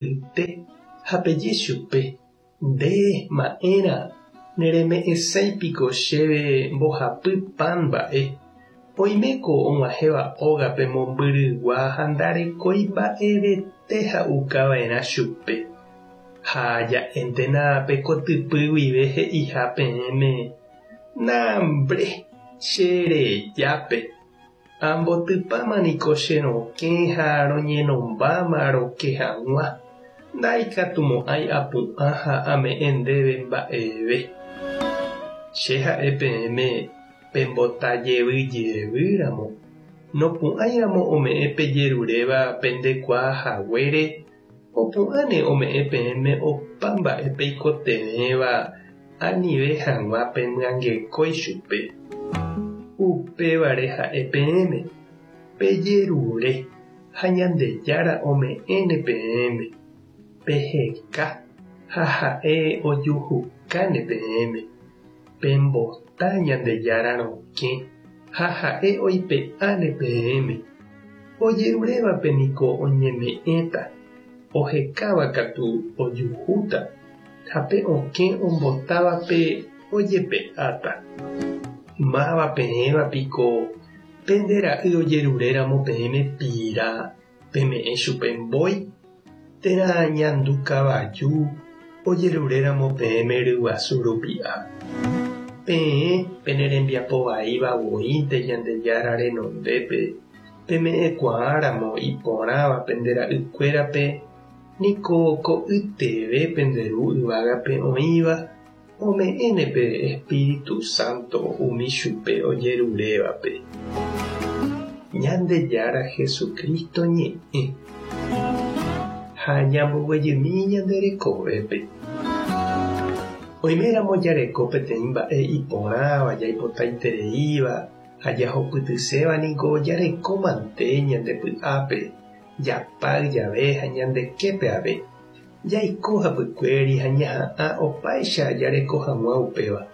Yte ha peje chupe, Nde, ma'ẽra, nereme'ẽsái piko chéve mbohapy pan mba'e. Oiméko og̃uahẽva ógape mombyrygua ha ndarekói mba'evete ha'uka va'erã chupe. Ha ja'éntena pe kotypy guive he'iha peẽme, Nambre, che rejápe. Ambotypáma niko che rokẽ ha roñenombáma roke hag̃ua, ndaikatumo'ãi apu'ã ha ame'ẽ ndéve mba'eve. Che ha'e peẽme pembota jevy jevy ramo, nopu'ãi ramo ome'ẽ pejeruréva pendekuaa haguére, opu'ãne ome'ẽ peẽme opa mba'e peikotevẽva anive hag̃ua pemyangekói chupe. Upévare ha'e peẽme, Pejerure, ha Ñandejára ome'ẽne peẽme, peheka, ha ha'e ojuhukáne peẽme, pembota Ñandejára rokẽ, ha ha'e oipe'áne peẽme. Ojerurévape niko oñeme'ẽta, ohekáva katu ojuhúta, ha pe okẽ ombotávape ojepe'áta. Máva peẽva piko pende ra'y ojeruréramo peẽme pira peme'ẽ chupe mbói, térã ñandu kavaju ojeruréramo peẽme ryguasu rupi'a? Peẽ pene rembiapo vaíva voínte Ñandejára renondépe peme'ẽkuaáramo iporãva pende ra'ykuérape, niko ko'yteve pende Ru yvágape oĩva ome'ẽne pe Espíritu Santo umi chupe ojerurévape. Ñandejára Jesucristo ñe'ẽ. Ha ñamboguejymi ñande rekovépe. Oiméramo jareko peteĩ mba'e iporãva jaipotaitereíva ha jahupytyséva niko jareko mante ñande py'ápe, japáy jave ha ñande képe ave. Jaiko hapykuéri ha ñaha'ã opáicha jareko hag̃ua upéva.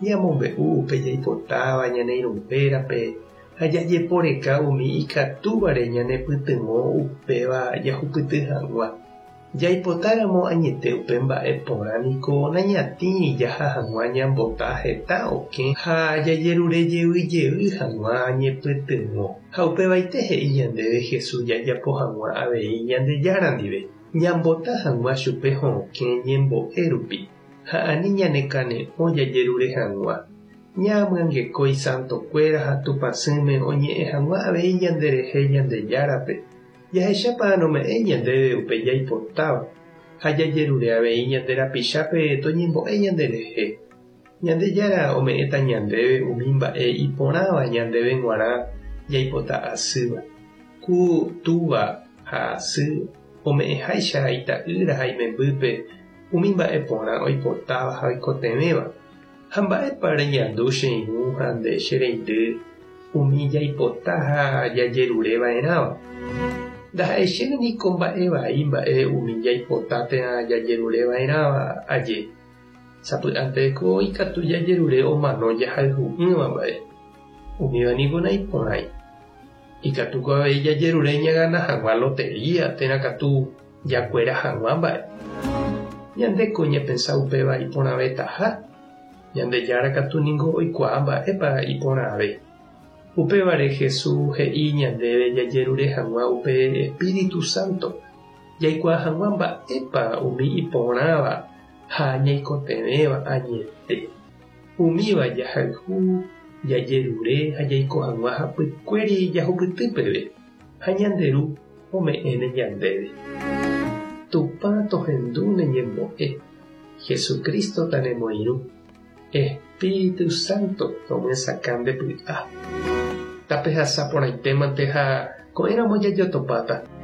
Ñamombe'u upe jaipotáva ñane irũnguérape ha jajeporeka umi ikatúvare ñanepytyvõ upéva jahupyty hag̃ua. Jaipotáramo añete upe mba'e porã niko nañatĩri jaha hag̃ua ñambota heta okẽ ha jajerure jey jey hag̃ua ñepytyvõ. Ha upevaite he'i ñandéve Jesús jajapo hag̃ua avei Ñandejára ndive, ñambota hag̃ua chupe hokẽ ñembo'e rupi ha ani ñanekane'õ jajerure hag̃ua. Ñamyangekói santokuéra ha Tupãsýme oñe'ẽ hag̃ua avei ñanderehe Ñandejárape. Jahechápa nome'ẽi ñandéve upe jaipotáva ha jajerure avei ñande rapichápe toñembo'e ñanderehe. Ñandejára ome'ẽta ñandéve umi mba'e iporãva ñandéve g̃uarã jaipota asýva. Ku túva ha sy ome'ẽháicha ita'ýra ha imembýpe umi mba'e porã oipotáva ha oikotevẽva. Ha mba'épa reñandu che irũ ha nde che reindy umi jaipota ha jajerure va'erãva? Ndaha'eichéne niko mba'e vai mba'e umi jaipota térã jajerure va'erãva aje. Sapy'ánte ko ikatu jajerure omano jahayhu'ỹva mba'e. Umíva niko naiporãi. Ikatúko avei jajerure ñagana hag̃ua lotería térã katu jakuera hag̃ua mba'e. Ñandéko ñapensa upéva iporãvetaha, Ñandejára katu ningo oikuaa mba'épa iporãve. Upévare Jesús he'i ñandéve jajerure hag̃ua upe espíritu sánto, jaikuaa hag̃ua mba'épa umi iporãva ha ñaikotevẽva añete. Umíva jahayhu, jajerure ha jaiko hag̃ua hapykuéri jahupyty peve, ha ñande Ru ome'ẽne ñandéve. Tupã tohendu ne ñembo'e, Jesucristo tanemoirũ, Espíritu Santo tomyesakã nde py'a. Tapehasa porãitémante ha ko'ẽramo jajotopáta.